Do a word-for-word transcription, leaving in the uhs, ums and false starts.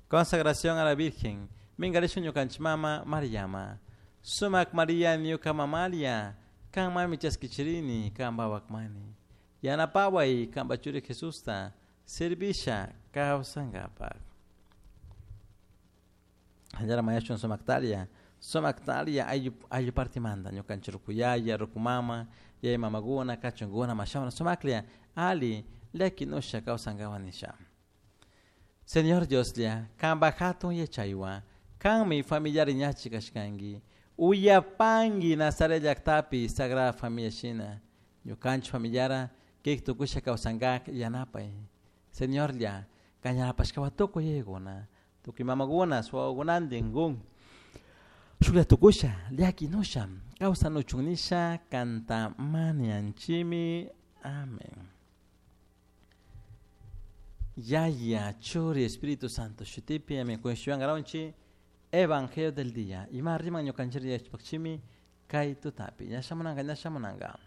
Consagración a la Virgen. Mingarishun ñukanchik mama Mariama. Sumak Maria ñuka mamalia. Kan mami chaskichirini kan mani. Yanapaway kanpa churi Jesusta servisha kawsankapak. Hallara mayashun sumaktalia. Sumaktalia ayllu ayllu partimanta ñukanchik rukuyaya, rukumama, yaya mamakuna, kachunkuna, mashawana sumaklla ali llakinusha kawsankapak nisha. Señor Dioslla, kanpak hatun yachaywan, kanmi familiar ñachi kashkanki. Uyapanki Nazaret llaktapi Sagrada Familia shina. Ñukanchik familiara kik tukusha kawsankak yanapay. Señorlla, kan yanapashkawan tukuy yayakuna, tukuy mamakuna, wawakunantin kun. Shuklla tukusha, llakinusha, kawsanuchun nisha, kanta mañanchimi. Amén. Yaya, Churi, Espíritu Santo, shutipi, amén. Kunshuan garonchi, Evangelio del día. Ima riman ñukanchik yachpakchimi, kay tutapi. Ñashamunanga, ñashamunanga.